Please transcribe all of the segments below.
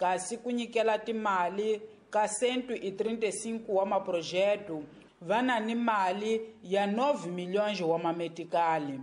Kasi ku nyikela timali ka 135 wa maprojeto va na ni mali ya 9 milhões wa mametikali.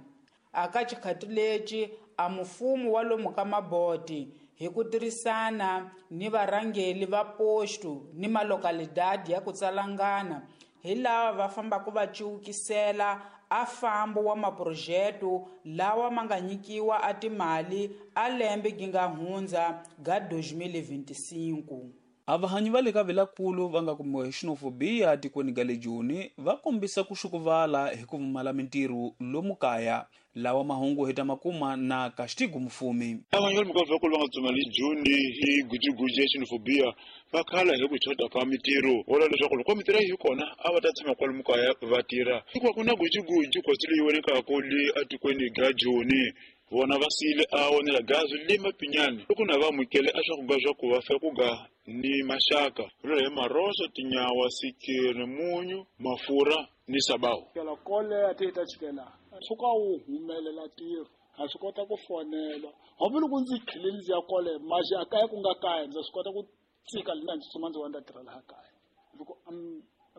Aka xikhati lexi a mufumo wa lomu ka Maboti hi ku tirhisana ni varhangeli va posto ni malokalidadi ya ku tsalangana hi lava va fambaka va ciwukisela a fambo wa maprojeto lawa ma nga nyikiwa a timali a lembe gi nga hundza ga 2025. Avahanyi va le ka Vilakulu va nga kumiwa hi xenofobiya tikweni ga le Joni va kombisa ku xukuvala hi ku pfumala mintirho lomu kaya. Lawa mahungu hi ta makuma na Castigo Mufumi. Avanyi va le ka Vilakulu va nga dzuma le Joni hi gujuguju ya xenofobiya va khala hi ku chota ka mintirho. Vula leswaku loko mintirho yi kona a va ta tshama kwalomu kaya va tirha. Hikuva ku na gujuguju kwatsi leyi vonekaka le atikweni ga Joni. Vona va siyile a onela gazi le Mapinyani loko na va amukele a swakudya swa ku va fe ku ga ni maxaka. Vula hi maroso, tinyawa, sikiri, munyu, mafurha ni sabawu. Kela kole a ti ta chikela. Tshuka wu humelela ntirho. Ha swi kota ku fonela. Hambi loko ndzi khile ndzi ya kole, maxi a kaya ku nga kaya, ndza swi kota ku tsika lina ndzi tsutsuma ndzi wa ndza tirha laha kaya. Loko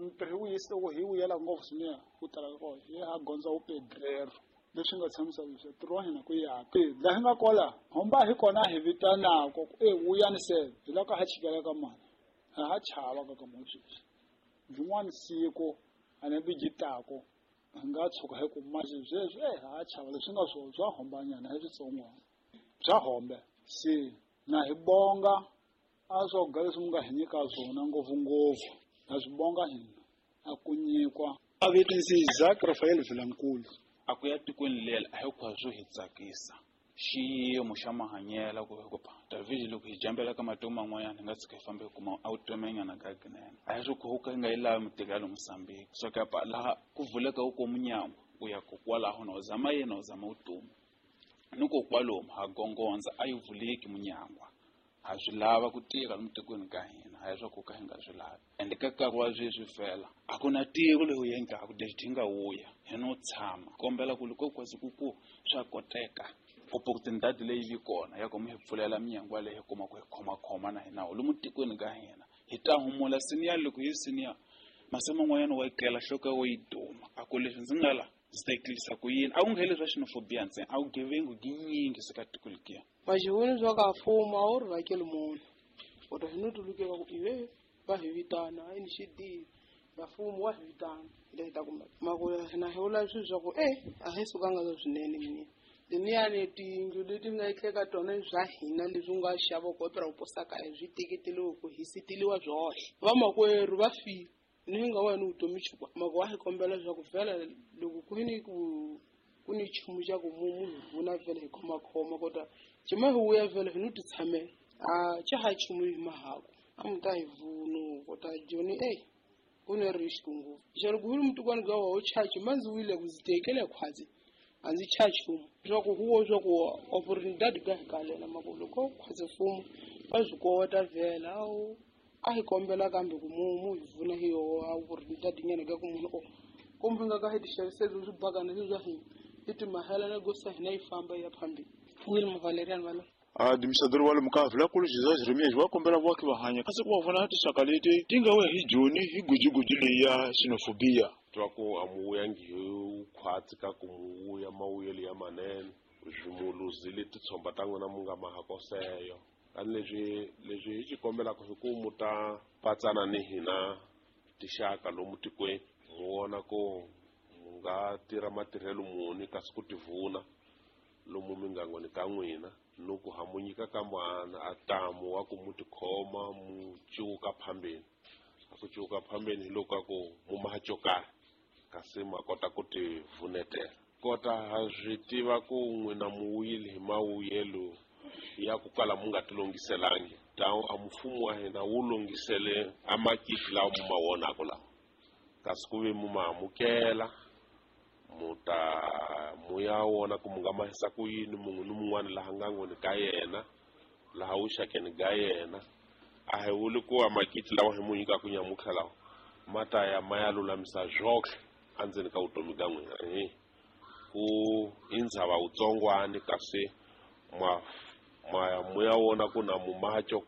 ntirho wu yisa loko hi vuyela ngopfu swinene ku tala ka kona, hi ha gondza wu pedrero. Leswi nga tshamisa leswi ntirho wa hina ku ya pi. Laha hi nga kola, homba hi kona hi vitanaka ku e vuyani se, hi loko ha chikela ka mani. Ha ha chava ka ka mani sweswi. Byin'wana siku a ni bijitako hi nga tshuka hi ku maxi sweswi ha chava leswi nga swona bya hombanyana hi switsongwana. Bya hombe. Se na hi bonga a swakudya leswi mi nga hi nyika swona ngopfungopfu. Na swi bonga hina a ku nyikwa. A vito ndzi Isaac Rafael Vilankulu. A ku ya tikweni leri a hinkwaswo hi tsakisa xiyimo xa mahanyelo ku hi ku pa David loko hi jambela ka matiko man'wanyana hi nga tshika hi fambe hi kuma a wutomenyana ka kunene a hi swi ku ka hi nga yi lavi mitiko ya le Mozambique so ka pa laha ku vuleka wu ko munyangwa u ya ko kwalaho na u zama yena u zama vutomi ni ko kwalomu ha gongondza a yi vuleki munyangwa. Ha swi lava ku tirha lomu tikweni ka hina a hi swa ku ka hi nga swi lavi ende ka nkarhi wa sweswi fela a ku na tiko leyi u endlaka lexi hi nga wuya hi no tshama kombela ku loko kwasi ku ku swa koteka opportunity leyi vi kona ya ku mi hi pfulela minyangwa leyi hi kuma ku hi khomakhoma na hina lomu tikweni ka hina hi ta humula senior loko hi senior masiku man'wanyana wa yi kela nhloko ya yi duma a ku leswi ndzi nga la ndzi ta yi tlilisa ku yini a ku ngheli swa xenophobia ntsena a ku gevengu ginyingi se ka tiko lekiya. Vaxivoni swa ka mfumo a wu ri vhakeli munhu u ta hi no tulukela ku ive va hi vitana a ni xidini va mfumo wa hi vitana hi ta hi ta kuma mako na hi vula swilo swa ku a hi sukanga swinene mina leniyani tiyindlu leti nga etleka tona bya hina leswi nga xava ku opera ku posa kaya swi teketeliwe ku hi siteliwa byohle vamakwerhu va file ni nga wena vutomi chukwa mako wa hi kombela leswaku vhela loko ku ni ku ku ni nchumu xa ku munhu vuna vhela hi khomakhoma kota cima hi vuya vhela hi no ti tshamela a xa ha nchumu hi mahaku a mi ta hi vuno kota joni ku ni risk ngopfu xa loko wu ri mutukwana ka wa u chachi ma ndzi wile ku ndzi tekele khwatsi a ndzi cha nchumu swa ku huwo swa ku opportunity ka hi kalela mako loko khwatsi mfumo va swi kota vhela a hi kombela kambe ku mu hi vuna hi yo opportunity nyana ka ku munhu o kumbe nga ka hi ti xaviseli swi bakana leswi swa hina hi timahela na gosa hina yi famba yi ya phambili. Wilma Valerian Valo. Administrador wa le Mukavhi la kulu Jesus Jeremias wa kombela vaaki va hanya kasi ku va vona tinxaka leti ti nga we hi Joni hi gujuguju leyi ya xenophobia. Twa ku a mu vuyangi hi khwatsi ka ku mu vuya mavuyelo ya manene swimuluzile titshomba ta n'wina mu nga mahakoseyo. Tani leswi hi xi kombelaka hi ku mu ta patsana ni hina tixaka lomu tikweni mu vona ku mu nga tirha matirhelo muni kasi ku tivuna lomu mingangweni ka n'wina ni ku ha mu nyika ka mwana a tamu wa ku mu tikhoma mu cuka phambeni. A ku cuka phambeni hi loko a ku mu maha xo karhi kasi ma kota ku ti vunetela. Kota ha swi tiva ku n'wina mu wuyile hi mawuyelo ya ku kala mu nga ti lunghiselangi. Tawu a mfumo wa hina wu lunghisele a makiti lawa mu ma vonaka lawa kasi ku ve mu ma amukela mu ta mu ya wona ku mu nga mahisa ku yini munhu ni mun'wana laha ngangweni ka yena laha vuxakeni ga yena a hi vuli ku a makiti lawa hi mu nyikaka nyamutlha lawa ma ta ya ma ya lulamisa zwohle endzeni ka vutomi bya n'wina. Ku i ndzhava wutsongwani kasi ma ya mu ya wona ku na mumacho.